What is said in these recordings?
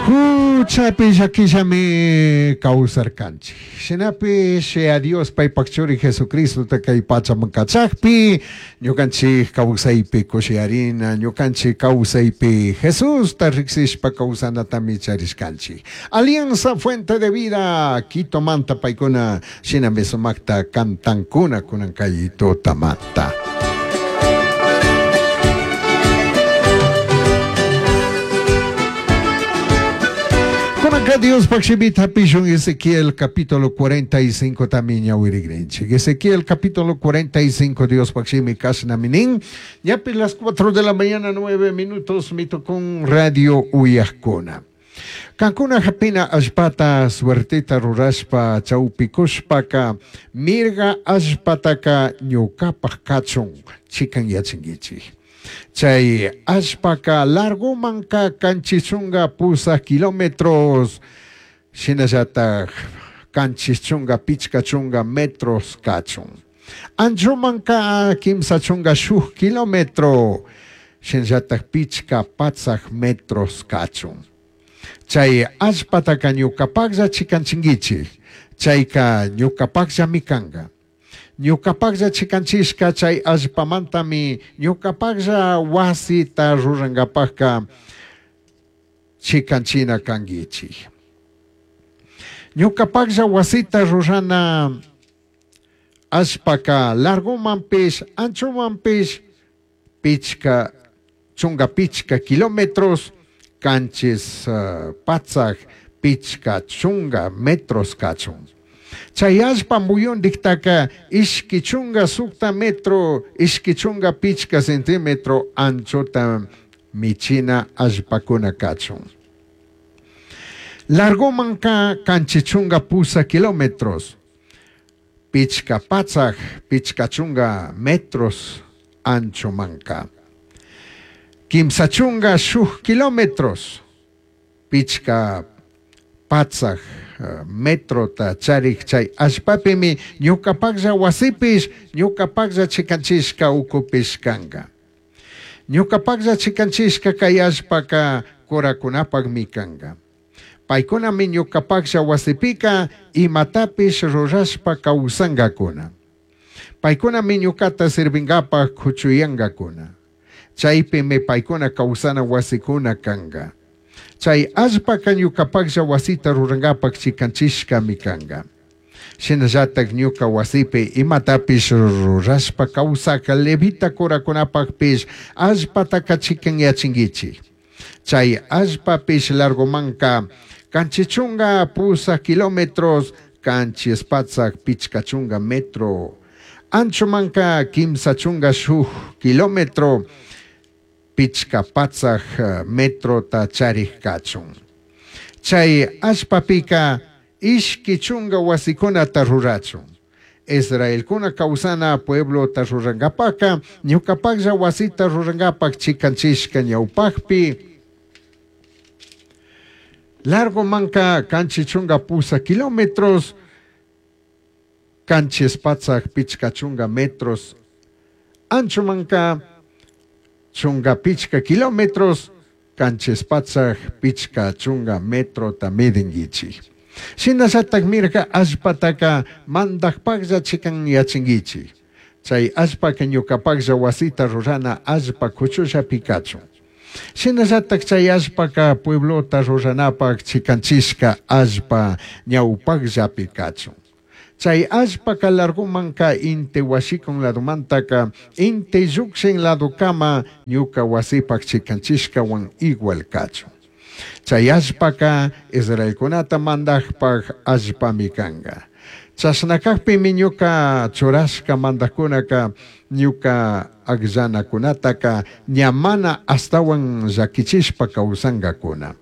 Juchapi llaquillami causarcanchij. Shinapish Yaya Dios paipaj Churi Jesucristota cai pachaman cachajpi, ñucanchij causaipi cushiyarina, ñucanchij causaipi Jesusta rijsishpa causanatami charishcanchij. Alianza Fuente de Vida Quitomanta paicuna shinami sumajta cantancuna cunan cai tutamanta. Cunanca Diospaj shimita japishun Ezequiel capítulo 45 tami ñahuirigrinchij. Ezequiel capítulo 45 Diospaj shimi cashnami nin. Ñapi las 4 de la mañana 9 minutos mitucun radio uyajcuna. Cancuna japina allpata suerteta rurashpa chaupicushpaca, mirga allpataca ñucapaj cachun chicanyachinguichij. Chai allpaca largomanca canchis chunga pusaj kilómetros, shinallataj canchis chunga pichca chunga metros cachun. Anchomanca quimsa chunga shuj kilómetro, shinallataj pichca patsaj metros cachun. Chai allpataca ñucapajlla chicanchinguichij, chaica ñucapajllami canga. Ñucapajlla chicanchishca chai allpamantami ñucapajlla huasita rurangapajca chicanchina canguichij. Ñucapajlla huasita rurana allpaca largomanpish, anchomanpish pichca chunga pichca kilómetros, canchis patsaj pichca chunga metros cachun. Chai allpa muyundijtaca ishqui chunga sucta metro, ishqui chunga pichca centímetro anchota michina allpacuna cachun. Largomanca canchis chunga pusaj kilómetros, pichca patsaj pichca chunga metros anchomanca. Quimsa chunga shuj kilómetros, pichca patsaj metrota charij chai allpapimi ñucapajlla huasipish, ñucapajlla chicanchishca ucupish canga. Ñucapajlla chicanchishca cai allpaca curacunapajmi canga. Paicunami ñucapajlla huasipica imatapish rurashpa causangacuna. Paicunami ñucata sirvingapaj cuchuyangacuna. Chaipimi paicuna causana huasicuna canga. Chai allpaca ñucapajlla huasita rurangapaj chicanchishcami canga. Shinallataj ñuca huasipi imatapish rurashpa causaj levita curacunapajpish allpataca chicanyachinguichij. Chai allpapish largomanca canchis chunga pusaj kilómetros, canchis patsaj pichca chunga metro, anchomanca quimsa chunga shuj kilómetro, pichca patsaj metrota charij cachun. Chai allpapica ishqui chunga huasicunata rurachun. Israelcuna causana pueblota rurangapajca, ñucapajlla huasita rurangapaj chicanchishca ñaupajpi, largomanca canchis chunga pusaj kilómetros, canchis patsaj pichca chunga metros, anchomanca chunga pichca kilómetros, canchis patsaj pichca chunga metrota midinguichij. Shinallataj mirga allpataca mandajpajlla chicanyachinguichij. Chai allpaca ñucapajlla huasita rurana allpa cuchullapi cachun. Shinallataj chai allpaca pueblota ruranapaj chicanchishca allpa ñaupajllapi cachun. Chai allpaca largomanca inti huashicun ladomantaca inti llujshin ladocama ñuca huasipaj chicanchishcahuan igual cachun. Chai allpaca israelcunata mandajpaj allpami canga. Chashna cajpimi ñuca churashca mandajcunaca ñuca agllanacunataca ña mana ashtahuan llaquichishpa causangacuna.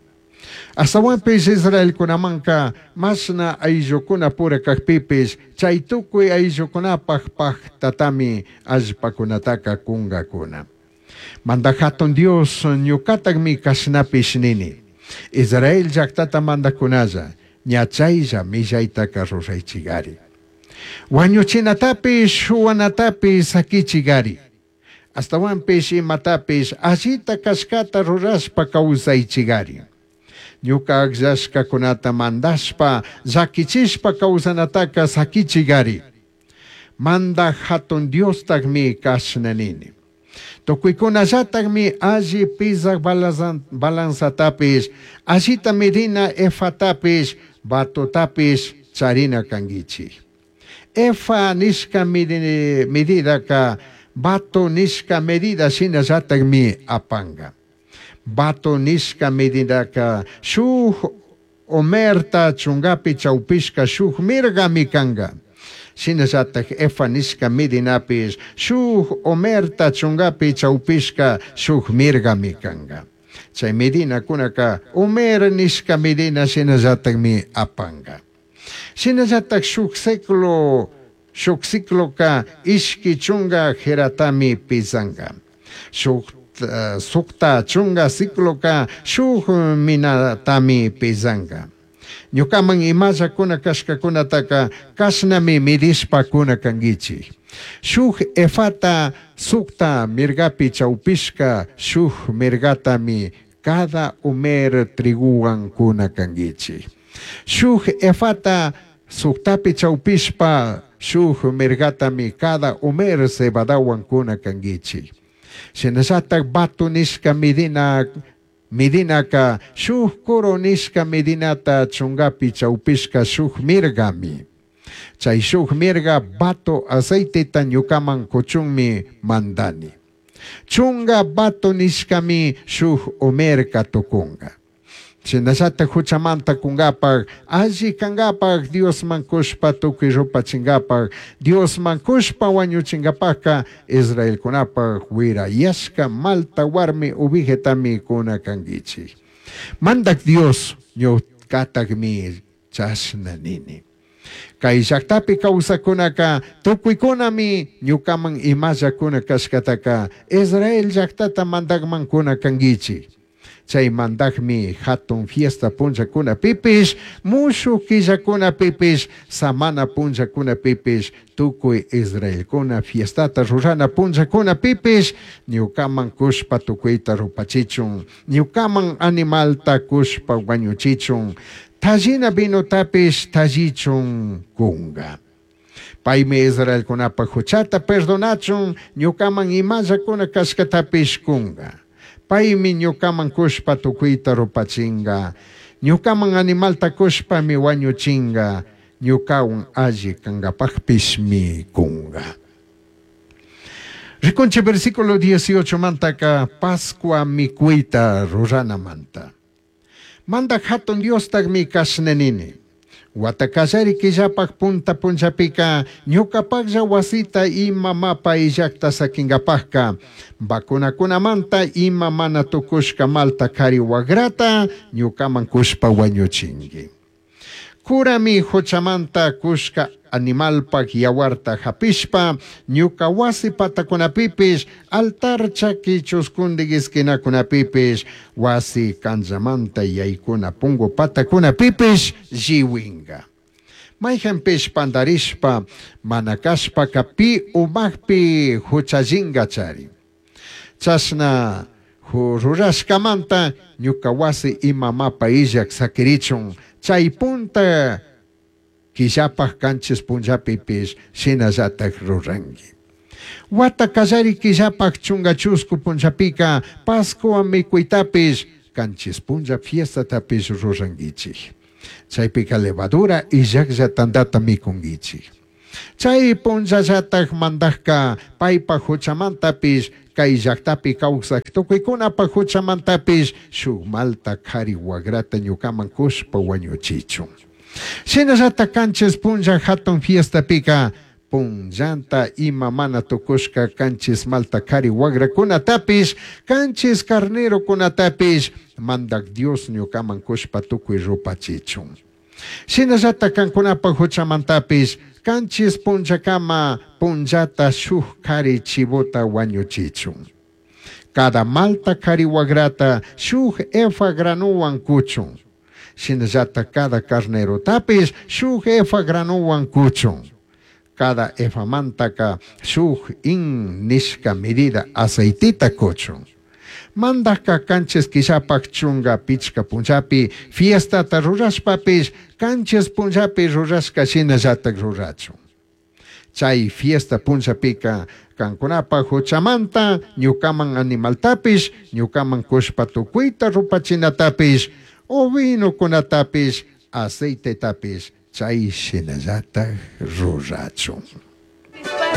Ashtahuanpish israelcunamanca mashna aillucunapura cajpipish chai tucui aillucunapaj pajtatami allpacunataca cungacuna. Mandaj Jatun Dios ñucatajmi cashnapish nini. Israel llajtata mandajcunalla, ña chailla millaitaca ruraichigari. Huañuchinatapish, shuhuanatapish saquichigari. Ashtahuanpish imatapish allita cashcata rurashpa causaichigari. Ñuca agllashcacunata mandashpa, llaquichishpa causanataca saquichigari. Mandaj Jatun Diostajmi cashna nini. Tucuicunallatajmi alli pizaj balanzatapish, allita medina efatapish, batotapish charina canguichij. Efa nishca medidaca bato nishca medida shinallatajmi apanga. Bato nishca medidaca shuj omerta chungapi chaupishca shuj mirgami canga. Shinallataj efa nishca medinapish shuj omerta chungapi chaupishca shuj mirgami canga. Chay medinakunaka omer nishca medina shinallatajmi apanga. Shinallataj shuj ciclo shuj cicloka ishqui chunga geratami pizanga. Shuj sukta chunga cicloka shuj minatami pizanga. Ñukaman imallakuna kashkakunataka kashnami midishpa kuna kanguichij. Shuj efata sukta mirgapi chaupishka shuj mirgatami cada omer triguwan kuna kanguichij. Shuj efata suktapi chaupishpa shuj mirgatami cada omer cebadawan kuna kanguichij. Shinallataj bato nishka medina medinaka shuj coro nishka medinata chungapi chaupishka shuj mirgami. Chay shuj mirga bato aceiteta ñukaman kuchunmi mandani. Chunga bato nishkami shuj omerka tukunga. Shinallataj huchamanta kungapaj, alli kangapaj, Diosman kushpa tukuy rupachingapaj, Diosman kushpa wañuchingapajka, Israelkunapaj wirayashka malta warmi ovejetami kuna kanguichij. Mandak Dios ñukatakmi chashna nini. Kay llaktapi kawsakunaka tukuykunami ñukaman imallakuna kashkataka Israel llaktata mandakman kuna kanguichij. Chay mandakmi hatun fiesta punllakunapipish, mushuj killakunapipish, samana punllakunapipish, tukuy Israelkuna fiestata rurana punllakunapipish, ñukaman kushpa tukuyta rupachichun, ñukaman animalta kushpa wañuchichun, tallina vinotapish tallichun kunga. Paymi Israelkunapaj huchata perdonachun, ñukaman imallakuna kashkatapish kunga. Paymi ñukaman kushpa tukuyta rupachinga. Ñukaman animalta kushpami wañuchinga. Ñukawan alli kangapajpishmi kunga. Rikunchi versículo 18 mantaka Pascua mikuyta ruranamanta. Mandak hatun Diostakmi kashna nini. Wata kallari killapaj punta punllapika ñukapajlla wasita ima mapa illakta sakinkapajka vacunakunamanta ima mana tukushka malta kari wagrata ñukaman kushpa wañuchinki. Kurami huchamanta kushka animalpak yawarta hapishpa ñuka wasi patakunapipish altar chaki chuskundik esquinakunapipish wasi kanllamanta yaykuna pungu patakunapipish lliwinka. Mayhanpish pandarishpa mana kashpaka pi umakpi huchallinka chari. Chashna rurashkamanta ñuka wasi ima mapa illak sakirichun chay punta killapaj kanchis punllapipish shinallatak ruranki. Wata kallari killapaj chunga chusku punllapika Pascua mikuytapish kanchis punlla fiestatapish rurankichik. Chaypika levadura illaklla tantata mikunkichik. Chay punllallatak mandajka paypaj huchamantapish kay llaktapi kawsaq tukuykunapaj huchamantapish shuk malta kari wagrata ñukaman kushpa wañuchichun. Shinallata kanchis punlla hatun fiestapika punllanta ima mana tukushka kanchis malta kari wagrakunatapish kanchis carnerokunatapish mandak Dios ñukaman kushpa tukuy rupachichun. Shinallata kankunapaj huchamantapish kanchis punllakama punllata shuk kari chivota wañuchichun. Cada malta kari wagrata shuk efa granuwan kuchun. Shinallata cada carnerotapis shuk efa granuwan kuchun. Cada efamantaka shuk hin nishka medida aceitita kuchun. Mandajca canchis quillapaj chunga pichca punllapi fiestata rurashpapish canchis punllapi rurashca shinallataj rurachun. Chai fiesta punllapica cancunapaj juchamanta ñucaman animaltapish, ñucaman cushpa tucuita rupachinatapish, ovinocunatapish, aceitetapish chai shinallataj rurachun.